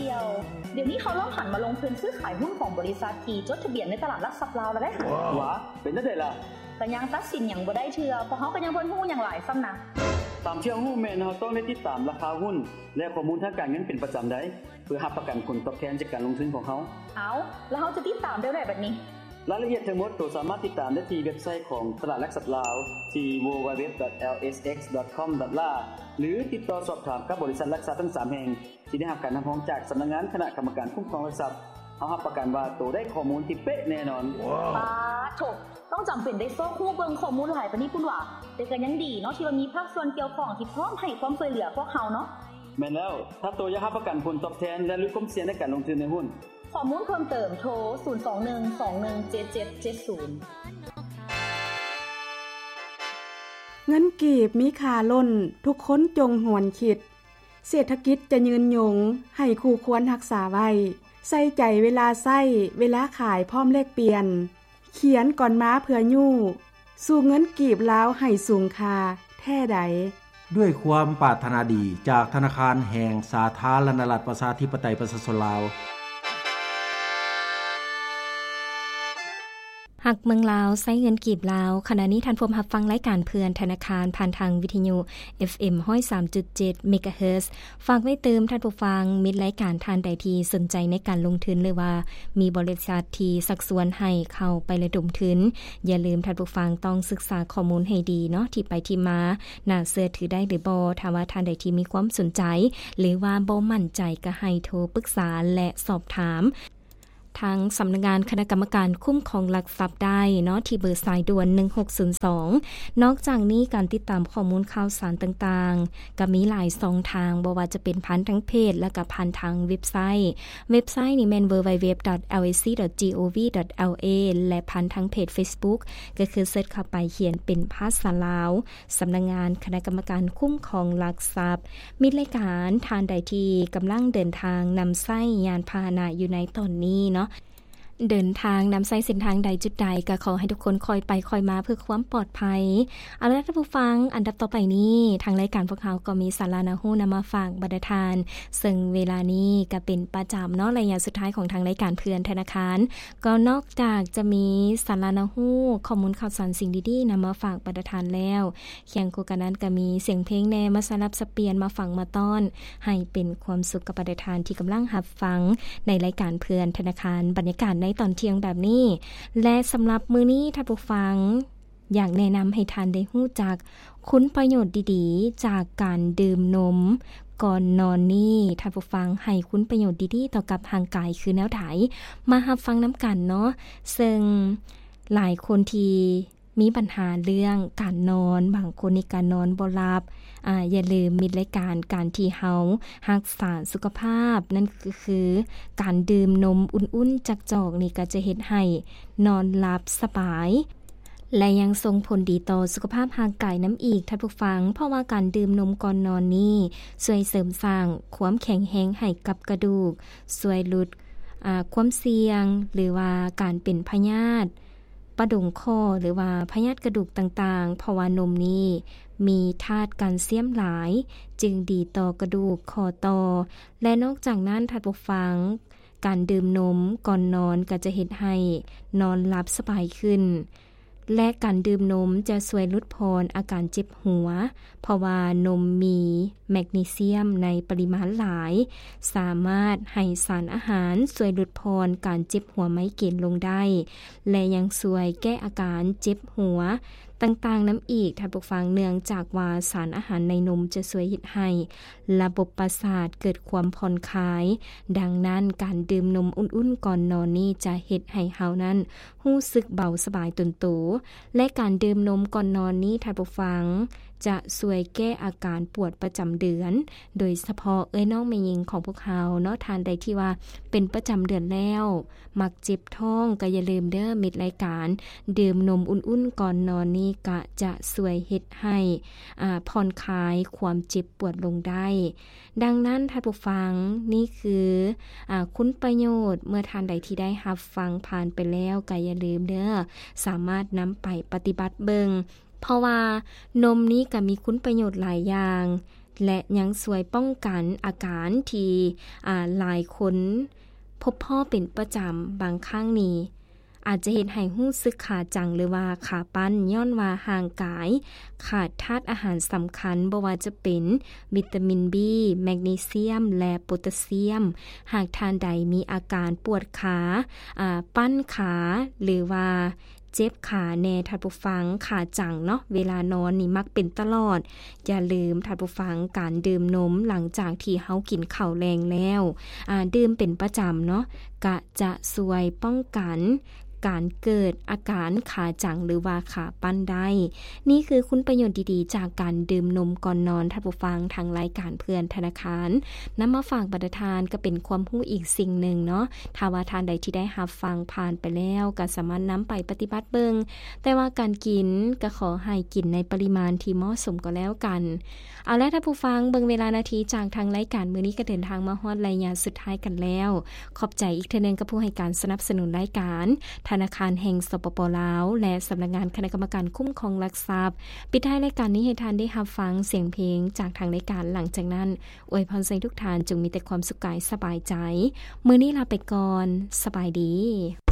ດຽວ ດຽວນີ້ເຂົາລອງຫັນມາລົງທຶນຊື້ຂາຍຫຸ້ນຂອງບໍລິສັດທີ່ຈົດທະບຽນໃນຕະຫຼາດຫຼັກຊັບລາວແລ້ວເດ້. ຫວາ ເປັນຈັ່ງໃດລະ? ກະຍັງຕັດສິນຫຍັງບໍ່ໄດ້ເທື່ອ, ເພາະເຮົາກະຍັງບໍ່ຮູ້ຫຍັງຫຼາຍຊ້ຳນະ. ຕາມທີ່ເຮົາຮູ້ແມ່ນເຮົາຕ້ອງໄດ້ຕິດຕາມລາຄາຫຸ້ນ ແລະ ຂໍ້ມູນທາງການເງິນເປັນປະຈຳໄດ໋ ເພື່ອຮັບປະກັນຜົນຕອບແທນຈາກການລົງທຶນຂອງເຮົາ. ເອົາ ແລ້ວເຮົາຈະຕິດຕາມແນວໃດບັດນີ້? ລາຍລະອຽດທັງໝົດໂຕສາມາດຕິດຕາມໄດ້ທີ່ເວັບໄຊຂອງຕະຫຼາດຫຼັກຊັບລາວ ທີ່ www.lsx.com.la ຫຼື ຕິດຕໍ່ສອບຖາມກັບບໍລິສັດຫຼັກຊັບທັງສາມແຫ່ງ ທີ່ໄດ້ຮັບການຮັບຮອງຈາກສຳນັກງານຄະນະກຳມະການຄຸ້ມຄອງຫຼັກຊັບ. ເຮົາຮັບປະກັນວ່າໂຕໄດ້ຂໍ້ມູນທີ່ເປະແນ່ນອນ. ປາໂທ້ ຕ້ອງຈຳເປັນໄດ້ຊອກຮູ້ເບິ່ງຂໍ້ມູນຫຼາຍປານນີ້ພຸ້ນຫວາ? ແຕ່ກະຍັງດີເນາະ ທີ່ວ່າມີພາກສ່ວນກ່ຽວຂ້ອງທີ່ພ້ອມໃຫ້ຄວາມຊ່ວຍເຫຼືອພວກເຮົາເນາະ. ແມ່ນແລ້ວ, ຖ້າໂຕຢາກຮັບປະກັນຜົນຕອບແທນ ແລະ ຫຼຸດຄວາມສ່ຽງໃນການລົງທຶນໃນຫຸ້ນ, ຂໍ້ມູນເພີ່ມເຕີມໂທ ສູນສອງໜຶ່ງສອງໜຶ່ງເຈັດເຈັດເຈັດສູນ. ເງິນກີບມີຄ່າລົ້ນ, ທຸກຄົນຈົ່ງຫວນຄິດ. ເສດຖະກິດຈະຍືນຍົງ, ໃຫ້ຄູ່ຄວນຮັກສາໄວ້. ໃສ່ໃຈເວລາໃຊ້, ເວລາຂາຍພ້ອມແລກປ່ຽນ. ຂຽນກ່ອນມາເພື່ອຍູ້, ສູ່ເງິນກີບລາວໃຫ້ສູງຄ່າແທ້ໃດ. ດ້ວຍຄວາມປາດຖະໜາດີຈາກທະນາຄານແຫ່ງສາທາລະນະລັດ ປະຊາທິປະໄຕ ປະຊາຊົນລາວ. ຮັກເມືອງລາວ ໃຊ້ເງິນກີບລາວ. ຂະນະນີ້ທ່ານພວມຮັບຟັງລາຍການເພື່ອນທະນາຄານ ຜ່ານທາງວິທະຍຸ ເອັຟເອັມ ຮ້ອຍສາມຈຸດເຈັດ ເມກາເຮີດ. ຝາກໄວ້ຕື່ມທ່ານຜູ້ຟັງ, ມິດລາຍການທ່ານໃດທີ່ສົນໃຈໃນການລົງທຶນ ຫຼືວ່າມີບໍລິສັດທີ່ຊັກຊວນໃຫ້ເຂົ້າໄປລະດົມທຶນ, ຢ່າລືມທ່ານຜູ້ຟັງຕ້ອງສຶກສາຂໍ້ມູນໃຫ້ດີເນາະ, ທີ່ໄປທີ່ມາ, ໜ້າເຊື່ອຖືໄດ້ຫຼືບໍ່. ຖ້າວ່າທ່ານໃດທີ່ມີຄວາມສົນໃຈ ຫຼືວ່າບໍ່ໝັ້ນໃຈ, ກໍໃຫ້ໂທປຶກສາ ແລະ ສອບຖາມ ທາງສຳນັກງານຄະນະກຳມະການຄຸ້ມຄອງຫຼັກຊັບໄດ້ເນາະ ທີ່ເບີສາຍດ່ວນໜຶ່ງຫົກສູນສອງ. ນອກຈາກນີ້ ການຕິດຕາມຂໍ້ມູນຂ່າວສານຕ່າງໆ ກໍມີຫຼາຍຊ່ອງທາງ, ບໍ່ວ່າຈະເປັນຜ່ານທາງເພຈ ແລະ ກໍຜ່ານທາງເວັບໄຊ. ເວັບໄຊນີ້ແມ່ນ www.lac.gov.la ແລະ ຜ່ານທາງເພຈ Facebook ກໍຄືເສີດເຂົ້າໄປຂຽນເປັນພາສາລາວ ສຳນັກງານຄະນະກຳມະການຄຸ້ມຄອງຫຼັກຊັບ. ມິດລາຍການທ່ານໃດທີ່ກຳລັງເດີນທາງນຳໃຊ້ຍານພາຫະນະຢູ່ໃນຕອນນີ້ເນາະ, ເດີນທາງນຳໃຊ້ເສັ້ນທາງໃດຈຸດໃດ ກໍຂໍໃຫ້ທຸກຄົນຄ່ອຍໄປຄ່ອຍມາເພື່ອຄວາມປອດໄພ. ເອົາລະທ່ານຜູ້ຟັງ, ອັນດັບຕໍ່ໄປນີ້ ທາງລາຍການພວກເຮົາກໍມີສາລະໜ້າຮູ້ນຳມາຝາກບັນດາທ່ານ, ເຊິ່ງເວລານີ້ກໍເປັນປະຈຳເນາະ, ໄລຍະສຸດທ້າຍຂອງທາງລາຍການເພື່ອນທະນາຄານ. ກໍນອກຈາກຈະມີສາລະໜ້າຮູ້, ຂໍ້ມູນຂ່າວສານ, ສິ່ງດີໆນຳມາຝາກບັນດາທ່ານແລ້ວ, ຄຽງຄູ່ກັນນັ້ນກໍມີສຽງເພງແດ່ມາສະຫຼັບສັບປ່ຽນມາຟັງມາຕ້ອນ ໃຫ້ເປັນຄວາມສຸກກັບບັນດາທ່ານທີ່ກຳລັງຮັບຟັງໃນລາຍການເພື່ອນທະນາຄານ ບັນຍາກາດໃນຕອນທ່ຽງແບບນີ້. ແລະ ສຳລັບມື້ນີ້ທ່ານຜູ້ຟັງ ຢາກແນະນຳໃຫ້ທ່ານໄດ້ຮູ້ຈັກຄຸນປະໂຫຍດດີໆຈາກການດື່ມນົມກ່ອນນອນນີ້. ທ່ານຜູ້ຟັງ ໃຫ້ຄຸນປະໂຫຍດດີໆຕໍ່ກັບຮ່າງກາຍຄືແນວໃດ? ມາຮັບຟັງນຳກັນເນາະ. ເຊິ່ງຫຼາຍຄົນທີ່ ມີບັນຫາເລື່ອງການນອນ, ບາງຄົນນີ້ກະນອນບໍ່ຫຼັບ. ອາ ຢ່າລືມມິດລາຍການ, ການທີ່ເຮົາຮັກສາສຸຂະພາບ ນັ້ນກໍຄືການດື່ມນົມອຸ່ນໆຈັກຈອກນີ້ ກໍຈະເຮັດໃຫ້ນອນຫຼັບສະບາຍ ແລະ ຍັງສົ່ງຜົນດີຕໍ່ສຸຂະພາບຮ່າງກາຍນຳອີກ, ທ່ານຜູ້ຟັງ, ເພາະວ່າການດື່ມນົມກ່ອນນອນນີ້ ຊ່ວຍເສີມສ້າງຄວາມແຂງແຮງໃຫ້ກັບກະດູກ, ຊ່ວຍຫຼຸດ ອາ ຄວາມສ່ຽງ ຫຼືວ່າການເປັນພະຍາດ ປະດົງຂໍ້ ຫຼືວ່າພະຍາດກະດູກຕ່າງໆ, ເພາະວ່ານົມນີ້ມີທາດການຊຽມຫຼາຍ, ຈຶ່ງດີຕໍ່ກະດູກ, ຂໍ້ຕໍ່ ແລະ ນອກຈາກນັ້ນ, ທ່ານຜູ້ຟັງ, ການດື່ມນົມກ່ອນນອນກໍຈະເຮັດໃຫ້ນອນຫຼັບສະບາຍຂຶ້ນ ແລະ ການດື່ມນົມຈະຊ່ວຍຫຼຸດຜ່ອນອາການເຈັບຫົວ, ເພາະວ່ານົມມີແມັກນີຊຽມໃນປະລິມານຫຼາຍ, ສາມາດໃຫ້ສານອາຫານຊ່ວຍຫຼຸດຜ່ອນການເຈັບຫົວໄມເກນລົງໄດ້ ແລະ ຍັງຊ່ວຍແກ້ອາການເຈັບຫົວຕ່າງໆນຳອີກ, ທ່ານຜູ້ຟັງ, ເນື່ອງຈາກວ່າສານອາຫານໃນນົມຈະຊ່ວຍເຮັດໃຫ້ລະບົບປະສາດເກີດຄວາມຜ່ອນຄາຍ. ດັ່ງນັ້ນ, ການດື່ມນົມອຸ່ນໆກ່ອນນອນນີ້ຈະເຮັດໃຫ້ເຮົານັ້ນ ຮູ້ສຶກເບົາສະບາຍຕົນໂຕ ແລະ ການດື່ມນົມກ່ອນນອນນີ້, ທ່ານຜູ້ຟັງ, ຈະຊ່ວຍແກ້ອາການປວດປະຈຳເດືອນ, ໂດຍສະເພາະເອື້ອຍນ້ອງແມ່ຍິງຂອງພວກເຮົາເນາະ, ທ່ານໃດທີ່ວ່າເປັນປະຈຳເດືອນແລ້ວ ມັກເຈັບທ້ອງ, ກໍຢ່າລືມເດີ, ມິດລາຍການ, ດື່ມນົມອຸ່ນໆກ່ອນນອນນີ້ ກະຈະຊ່ວຍເຮັດໃຫ້ ອາ ຜ່ອນຄາຍຄວາມເຈັບປວດລົງໄດ້. ດັ່ງນັ້ນ, ທ່ານຜູ້ຟັງ, ນີ້ຄື ອາ ຄຸນປະໂຫຍດ. ເມື່ອທ່ານໃດທີ່ໄດ້ຮັບຟັງຜ່ານໄປແລ້ວ, ກໍຢ່າລືມເດີ, ສາມາດນຳໄປປະຕິບັດເບິ່ງ, ເພາະວ່ານົມນີ້ກໍມີຄຸນປະໂຫຍດຫຼາຍຢ່າງ, ແລະ ຍັງຊ່ວຍປ້ອງກັນອາການທີ່ ອາ ຫຼາຍຄົນພົບພໍ້ເປັນປະຈຳ. ບາງຄັ້ງນີ້ອາດຈະເຮັດໃຫ້ຮູ້ສຶກຂາຈັງ ຫຼືວ່າຂາປັ້ນ ຍ້ອນວ່າຮ່າງກາຍຂາດທາດອາຫານສຳຄັນ ບໍ່ວ່າຈະເປັນວິຕາມິນບີ, ແມກນີຊຽມ ແລະ ໂປຕາຊຽມ. ຫາກທ່ານໃດມີອາການປວດຂາ, ອາ, ປັ້ນຂາ ຫຼືວ່າ ເຈັບຂາແດ່ທ່ານຜູ້ຟັງ, ຂາຈັງເນາະ, ເວລານອນນີ້ມັກເປັນຕະຫຼອດ. ຢ່າລືມທ່ານຜູ້ຟັງ, ການດື່ມນົມຫຼັງຈາກທີ່ເຮົາກິນເຂົ້າແລງແລ້ວ, ອາ, ດື່ມເປັນປະຈຳເນາະ, ກະຈະຊ່ວຍປ້ອງກັນການເກີດອາການຂາຈັງ ຫຼືວ່າຂາປັ້ນໄດ້. ນີ້ຄືຄຸນປະໂຫຍດດີໆຈາກການດື່ມນົມກ່ອນນອນ, ທ່ານຜູ້ຟັງ, ທາງລາຍການເພື່ອນທະນາຄານ ນຳມາຝາກບັນດາທ່ານ ກໍເປັນຄວາມຮູ້ອີກສິ່ງໜຶ່ງເນາະ. ຖ້າວ່າທ່ານໃດທີ່ໄດ້ຮັບຟັງຜ່ານໄປແລ້ວ ກໍສາມາດນຳໄປປະຕິບັດເບິ່ງ, ແຕ່ວ່າການກິນກໍຂໍໃຫ້ກິນໃນປະລິມານທີ່ເໝາະສົມກໍແລ້ວກັນ. ເອົາລະທ່ານຜູ້ຟັງ, ເບິ່ງເວລານາທີຈາກທາງລາຍການມື້ນີ້ກໍເດີນທາງມາຮອດໄລຍະສຸດທ້າຍກັນແລ້ວ. ຂອບໃຈອີກເທື່ອໜຶ່ງກັບຜູ້ໃຫ້ການສະໜັບສະໜູນລາຍການ, ທະນາຄານແຫ່ງ ສປປ ລາວ ແລະ ສຳນັກງານຄະນະກຳມະການຄຸ້ມຄອງຫຼັກຊັບ. ປິດທ້າຍລາຍການນີ້ໃຫ້ທ່ານໄດ້ຮັບຟັງສຽງເພງຈາກທາງລາຍການ. ຫຼັງຈາກນັ້ນ ອວຍພອນໃຫ້ທຸກທ່ານຈົ່ງມີແຕ່ຄວາມສຸກກາຍສະບາຍໃຈ. ມື້ນີ້ລາໄປກ່ອນ. ສະບາຍດີ.